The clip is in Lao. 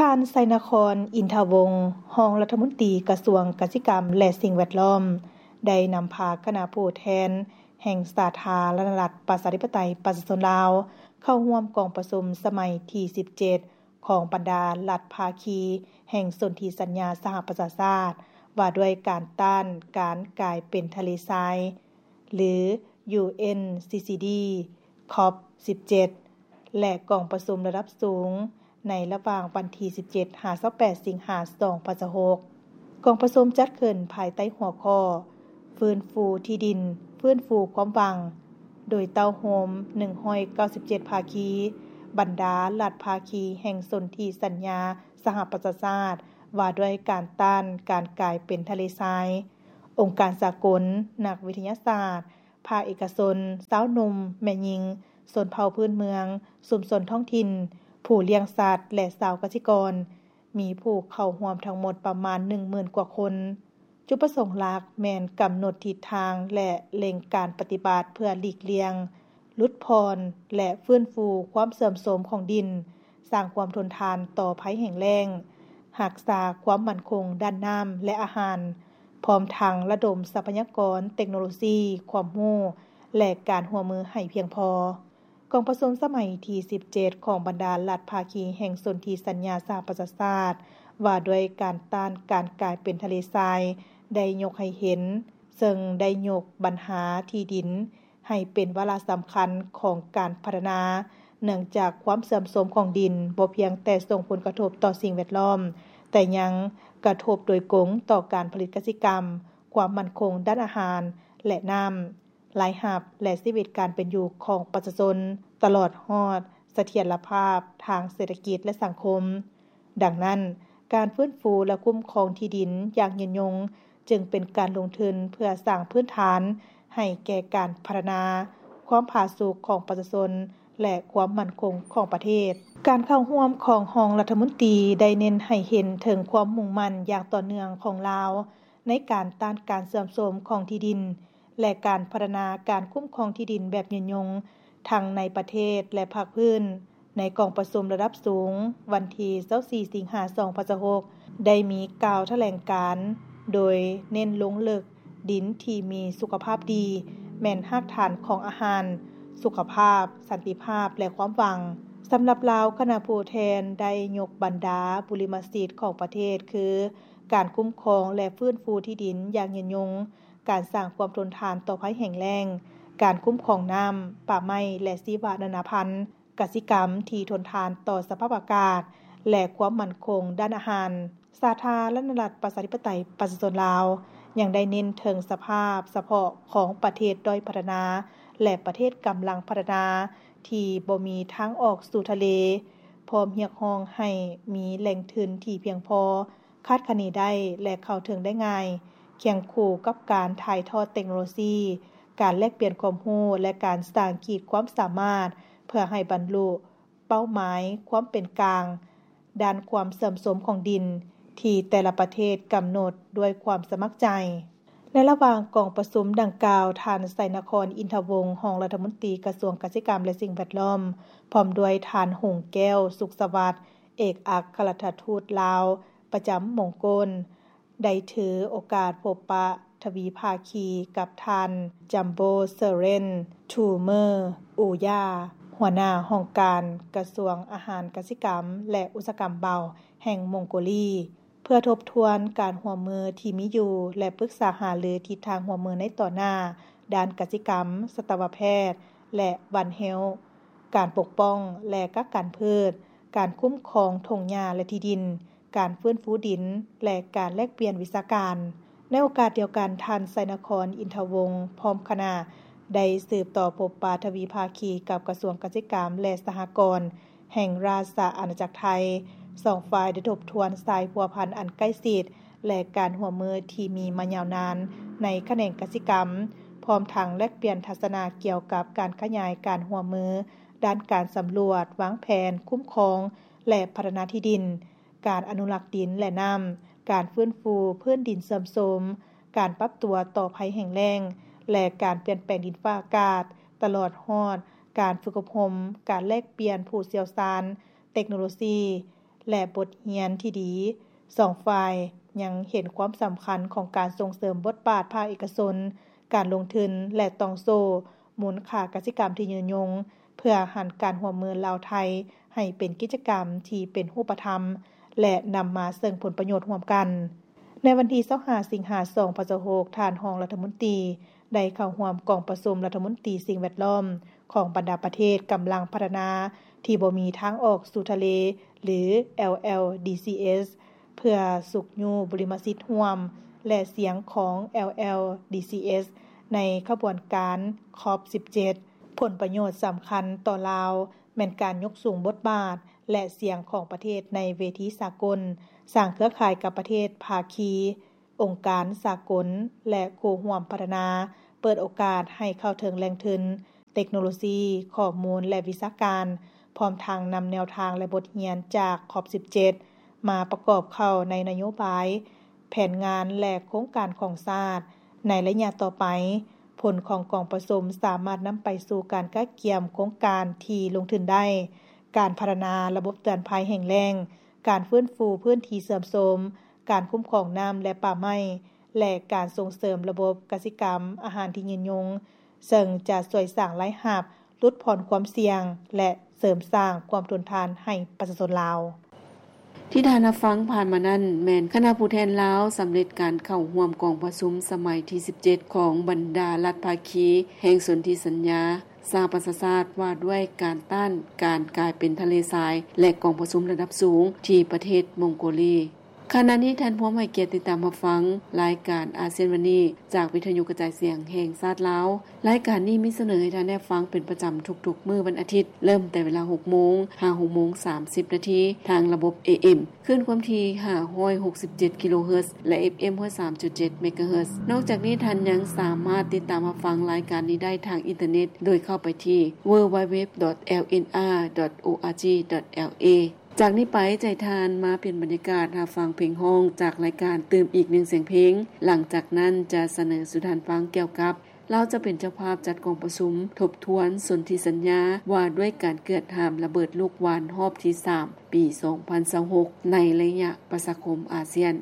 ທ່ານ ໄຊນະຄອນ ອິນທະວົງ ຮອງລັດຖະມົນຕີກະຊວງກະສິກຳ ແລະ ສິ່ງແວດລ້ອມ ໄດ້ນຳພາຄະນະຜູ້ແທນແຫ່ງສາທາລະນະລັດ ປະຊາທິປະໄຕ ປະຊາຊົນລາວ ເຂົ້າຮ່ວມກອງປະຊຸມສະໄໝທີສິບເຈັດ ຂອງບັນດາລັດພາຄີແຫ່ງສົນທິສັນຍາສະຫະປະຊາຊາດ ວ່າດ້ວຍການຕ້ານການກາຍເປັນທະເລຊາຍ ຫຼື ຢູເອັນຊີຊີດີ ຄອບສິບເຈັດ ແລະ ກອງປະຊຸມລະດັບສູງ ໃນລະຫວ່າງວັນທີສິບເຈັດ ຫາ ຊາວແປດ ສິງຫາ ສອງພັນຊາວຫົກ. ກອງປະຊຸມຈັດຂຶ້ນພາຍໃຕ້ຫົວຂໍ້ ຟື້ນຟູທີ່ດິນ, ຟື້ນຟູຄວາມຫວັງ ໂດຍເຕົ້າໂຮມໜຶ່ງຮ້ອຍເກົ້າສິບເຈັດພາຄີ, ບັນດາລັດພາຄີແຫ່ງສົນທິສັນຍາສະຫະປະຊາຊາດ ວ່າດ້ວຍການຕ້ານການກາຍເປັນທະເລຊາຍ, ອົງການສາກົນ, ນັກວິທະຍາສາດ, ພາກເອກະຊົນ, ຊາວໜຸ່ມ, ແມ່ຍິງ, ຊົນເຜົ່າພື້ນເມືອງ, ຊຸມຊົນທ້ອງຖິ່ນ, ຜູ້ລ້ຽງສັດ ແລະ ຊາວກະສິກອນ, ມີຜູ້ເຂົ້າຮ່ວມທັງໝົດປະມານໜຶ່ງໝື່ນກວ່າຄົນ. ຈຸດປະສົງຫຼັກແມ່ນກຳນົດທິດທາງ ແລະ ເລັ່ງການປະຕິບັດເພື່ອຫຼີກລ່ຽງ, ຫຼຸດຜ່ອນ ແລະ ຟື້ນຟູຄວາມເສື່ອມໂຊມຂອງດິນ, ສ້າງຄວາມທົນທານຕໍ່ໄພແຫ້ງແລ້ງ, ຮັກສາຄວາມໝັ້ນຄົງດ້ານນ້ຳ ແລະ ອາຫານ, ພ້ອມທັງລະດົມຊັບພະຍາກອນ, ເຕັກໂນໂລຊີ, ຄວາມຮູ້ ແລະ ການຮ່ວມມືໃຫ້ພຽງພໍ. ກອງປະຊຸມສະໄໝທີສິບເຈັດ ຂອງບັນດາລັດພາຄີແຫ່ງສົນທິສັນຍາສະຫະປະຊາຊາດ ວ່າດ້ວຍການຕ້ານການກາຍເປັນທະເລຊາຍ ໄດ້ຍົກໃຫ້ເຫັນ, ເຊິ່ງໄດ້ຍົກບັນຫາທີ່ດິນໃຫ້ເປັນວາລະສຳຄັນຂອງການພັດທະນາ, ເນື່ອງຈາກຄວາມເສື່ອມໂຊມຂອງດິນບໍ່ພຽງແຕ່ສົ່ງຜົນກະທົບຕໍ່ສິ່ງແວດລ້ອມ, ແຕ່ຍັງກະທົບໂດຍກົງຕໍ່ການຜະລິດກະສິກຳ, ຄວາມໝັ້ນຄົງດ້ານອາຫານ ແລະ ນ້ຳ. ລາຍຮັບ ແລະ ຊີວິດການເປັນຢູ່ຂອງປະຊາຊົນ, ຕະຫຼອດຮອດສະຖຽນລະພາບທາງເສດຖະກິດ ແລະ ສັງຄົມ. ດັ່ງນັ້ນ, ການຟື້ນຟູ ແລະ ຄຸ້ມຄອງທີ່ດິນຢ່າງຍືນຍົງ ຈຶ່ງເປັນການລົງທຶນເພື່ອສ້າງພື້ນຖານໃຫ້ແກ່ການພັດທະນາຄວາມຜາສຸກຂອງປະຊາຊົນ ແລະ ຄວາມໝັ້ນຄົງຂອງປະເທດ. ການເຂົ້າຮ່ວມຂອງຮອງລັດຖະມົນຕີໄດ້ເນັ້ນໃຫ້ເຫັນເຖິງຄວາມມຸ່ງໝັ້ນຢ່າງຕໍ່ເນື່ອງຂອງລາວ ໃນການຕ້ານການເສື່ອມໂຊມຂອງທີ່ດິນ ແລະ ການພັດທະນາການຄຸ້ມຄອງທີ່ດິນແບບຍືນຍົງ ທັງໃນປະເທດ ແລະ ພາກພື້ນ. ໃນກອງປະຊຸມລະດັບສູງ ວັນທີຊາວສີ່ ສິງຫາ ສອງພັນຊາວຫົກ ໄດ້ມີກ່າວຖະແຫຼງການ ໂດຍເນັ້ນລົງເລິກ ດິນທີ່ມີສຸຂະພາບດີ ແມ່ນຮາກຖານຂອງອາຫານ, ສຸຂະພາບ, ສັນຕິພາບ ແລະ ຄວາມຫວັງ. ສຳລັບລາວ, ຄະນະຜູ້ແທນໄດ້ຍົກບັນດາບຸລິມະສິດຂອງປະເທດ ຄື ການຄຸ້ມຄອງ ແລະ ຟື້ນຟູທີ່ດິນຢ່າງຍືນຍົງ, ການສ້າງຄວາມທົນທານຕໍ່ໄພແຫ້ງແລ້ງ, ການຄຸ້ມຄອງນ້ຳ, ປ່າໄມ້ ແລະ ຊີວະນານາພັນ, ກະສິກຳທີ່ທົນທານຕໍ່ສະພາບອາກາດ ແລະ ຄວາມໝັ້ນຄົງດ້ານອາຫານ. ສາທາລະນະລັດ ປະຊາທິປະໄຕ ປະຊາຊົນລາວ ຍັງໄດ້ເນັ້ນເຖິງສະພາບສະເພາະຂອງປະເທດດ້ອຍພັດທະນາ ແລະ ປະເທດກຳລັງພັດທະນາ ທີ່ບໍ່ມີທາງອອກສູ່ທະເລ, ພ້ອມຮຽກຮ້ອງໃຫ້ມີແຫຼ່ງທຶນທີ່ພຽງພໍ, ຄາດຄະເນໄດ້ ແລະ ເຂົ້າເຖິງໄດ້ງ່າຍ, ຄຽງຄູ່ກັບການຖ່າຍທອດເຕັກໂນໂລຊີ, ການແລກປ່ຽນຄວາມຮູ້ ແລະ ການສ້າງຂີດຄວາມສາມາດ ເພື່ອໃຫ້ບັນລຸເປົ້າໝາຍຄວາມເປັນກາງດ້ານຄວາມເສື່ອມໂຊມຂອງດິນ ທີ່ແຕ່ລະປະເທດກຳນົດດ້ວຍຄວາມສະໝັກໃຈ. ໃນລະຫວ່າງກອງປະຊຸມດັ່ງກ່າວ, ທ່ານ ໄຊນະຄອນ ອິນທະວົງ ຮອງລັດຖະມົນຕີກະຊວງກະສິກຳ ແລະ ສິ່ງແວດລ້ອມ, ພ້ອມດ້ວຍທ່ານ ຫົງແກ້ວ ສຸກສະຫວັດ ເອກອັກຄະລັດຖະທູດລາວປະຈຳມົງໂກນ ໄດ້ຖືໂອກາດພົບປະທະວີພາຄີກັບທ່ານ ຈຳໂບ ເຊີເຣນ ທູເມີ ອູຢາ ຫົວໜ້າຫ້ອງການກະຊວງອາຫານກະສິກຳ ແລະ ອຸດສາຫະກຳເບົາ ແຫ່ງມົງໂກລີ ເພື່ອທົບທວນການຮ່ວມມືທີ່ມີຢູ່ ແລະ ປຶກສາຫາລືທິດທາງຮ່ວມມືໃນຕໍ່ໜ້າ ດ້ານກະສິກຳ, ສັດຕະວະແພດ ແລະ ວັນເຮວ, ການປົກປ້ອງ ແລະ ກັກກັນພືດ, ການຄຸ້ມຄອງທົ່ງຫຍ້າ ແລະ ທີ່ດິນ, ການຟື້ນຟູດິນ ແລະ ການແລກປ່ຽນວິຊາການ. ໃນໂອກາດດຽວກັນ, ທ່ານ ໄຊນະຄອນ ອິນທະວົງ ພ້ອມຄະນະ ໄດ້ສືບຕໍ່ພົບປະທະວີພາຄີກັບກະຊວງກະສິກຳ ແລະ ສະຫະກອນ ແຫ່ງລາຊະອານາຈັກໄທ, ສອງຝ່າຍໄດ້ທົບທວນສາຍພົວພັນອັນໃກ້ຊິດ ແລະ ການຮ່ວມມືທີ່ມີມາຍາວນານໃນຂະແໜງກະສິກຳ, ພ້ອມທັງແລກປ່ຽນທັດສະນະກ່ຽວກັບການຂະຫຍາຍການຮ່ວມມືດ້ານການສຳຫຼວດ, ວາງແຜນ, ຄຸ້ມຄອງ ແລະ ພັດທະນາທີ່ດິນ, ການອະນຸລັກດິນ ແລະ ນ້ຳ, ການຟື້ນຟູພື້ນດິນເສື່ອມໂຊມ, ການປັບຕົວຕໍ່ໄພແຫ້ງແລ້ງ ແລະ ການປ່ຽນແປງດິນຟ້າອາກາດ, ຕະຫຼອດຮອດການຝຶກອົບຮົມ, ການແລກປ່ຽນຜູ້ຊ່ຽວຊານ, ເຕັກໂນໂລຊີ, ແລະ ບົດຮຽນທີ່ດີ. ສອງຝ່າຍຍັງເຫັນຄວາມສຳຄັນຂອງການສົ່ງເສີມບົດບາດພາກເອກະຊົນ, ການລົງທຶນ ແລະ ຕ່ອງໂສ້ມູນຄ່າກະສິກຳທີ່ຍືນຍົງ, ເພື່ອຫັນການຮ່ວມມືລາວ-ໄທໃຫ້ເປັນກິດຈະກຳທີ່ເປັນຮູບປະທຳ ແລະ ນຳມາເຊິ່ງຜົນປະໂຫຍດຮ່ວມກັນ. ໃນວັນທີຊາວຫ້າ ສິງຫາ ສອງພັນຊາວຫົກ, ທ່ານຮອງລັດຖະມົນຕີໄດ້ເຂົ້າຮ່ວມກອງປະຊຸມລັດຖະມົນຕີສິ່ງແວດລ້ອມຂອງບັນດາປະເທດກຳລັງພັດທະນາທີ່ບໍ່ມີທາງອອກສູ່ທະເລ ຫຼື LLDCS ເພື່ອຊຸກຍູ້ບຸລິມະສິດຮ່ວມ ແລະ ສຽງຂອງ LLDCS ໃນຂະບວນການ COP ສິບເຈັດ. ຜົນປະໂຫຍດສຳຄັນຕໍ່ລາວແມ່ນການຍົກສູງບົດບາດ ແລະ ສຽງຂອງປະເທດໃນເວທີສາກົນ, ສ້າງເຄືອຂ່າຍກັບປະເທດພາຄີ, ອົງການສາກົນ ແລະ ຄູ່ຮ່ວມພັດທະນາ, ເປີດໂອກາດໃຫ້ເຂົ້າເຖິງແຫຼ່ງທຶນ, ເຕັກໂນໂລຊີ, ຂໍ້ມູນ ແລະ ວິຊາການ, ພ້ອມທັງນຳແນວທາງ ແລະ ບົດຮຽນຈາກ COP ສິບເຈັດ ມາປະກອບເຂົ້າໃນນະໂຍບາຍ, ແຜນງານ ແລະ ໂຄງການຂອງຊາດໃນໄລຍະຕໍ່ໄປ. ຜົນຂອງກອງປະຊຸມສາມາດນຳໄປສູ່ການກະກຽມໂຄງການທີ່ລົງທຶນໄດ້, ການພັດທະນາລະບົບເຕືອນໄພແຫ້ງແລ້ງ, ການຟື້ນຟູພື້ນທີ່ເສື່ອມໂຊມ, ການຄຸ້ມຄອງນ້ຳ ແລະ ປ່າໄມ້ ແລະ ການສົ່ງເສີມລະບົບກະສິກຳອາຫານທີ່ຍືນຍົງ, ເຊິ່ງຈະຊ່ວຍສ້າງລາຍຮັບ, ຫຼຸດຜ່ອນຄວາມສ່ຽງ ແລະ ເສີມສ້າງຄວາມທົນທານໃຫ້ປະຊາຊົນລາວ. ທີ່ທ່ານຮັບຟັງຜ່ານມານັ້ນ ແມ່ນຄະນະຜູ້ແທນລາວສຳເລັດການເຂົ້າຮ່ວມກອງປະຊຸມສະໄໝທີສິບເຈັດ ຂອງບັນດາລັດພາຄີແຫ່ງສົນທິສັນຍາສະຫະປະຊາຊາດ ວ່າດ້ວຍການຕ້ານການກາຍເປັນທະເລຊາຍ ແລະ ກອງປະຊຸມລະດັບສູງທີ່ປະເທດມົງໂກລີ. ຂະນະນີ້ທ່ານພວມໃຫ້ກຽດຕິດຕາມຮັບຟັງລາຍການອາຊຽນວັນນີ້ ຈາກວິທະຍຸກະຈາຍສຽງແຫ່ງຊາດລາວ. ລາຍການນີ້ມີສະເໜີໃຫ້ທ່ານໄດ້ຟັງເປັນປະຈຳທຸກໆມື້ວັນອາທິດ, ເລີ່ມແຕ່ເວລາຫົກໂມງ ຫາ ຫົກໂມງສາມສິບນາທີ ທາງລະບົບ ເອເອັມ ຄື້ນຄວາມຖີ່ ຫ້າຮ້ອຍຫົກສິບເຈັດ ກິໂລເຮີດ ແລະ ເອັຟເອັມ ຮ້ອຍສາມຈຸດເຈັດ ເມກາເຮີດ. ນອກຈາກນີ້, ທ່ານຍັງສາມາດຕິດຕາມຮັບຟັງລາຍການນີ້ໄດ້ທາງອິນເຕີເນັດ ໂດຍເຂົ້າໄປທີ່ www.lnr.org.la. ຈາກນີ້ໄປ, ໃຈທ່ານມາປ່ຽນບັນຍາກາດຮັບຟັງເພງຮ້ອງຈາກລາຍການຕື່ມອີກໜຶ່ງສຽງເພງ. ຫຼັງຈາກນັ້ນຈະສະເໜີສູ່ທ່ານຟັງກ່ຽວກັບ ລາວຈະເປັນເຈົ້າພາບຈັດກອງປະຊຸມທົບທວນສົນທິສັນຍາວ່າດ້ວຍການເກືອດຫ້າມລະເບີດລູກຫວ່ານຮອບທີສາມ ປີສອງພັນຊາວຫົກ ໃນໄລຍະປະຊາຄົມອາຊຽນ.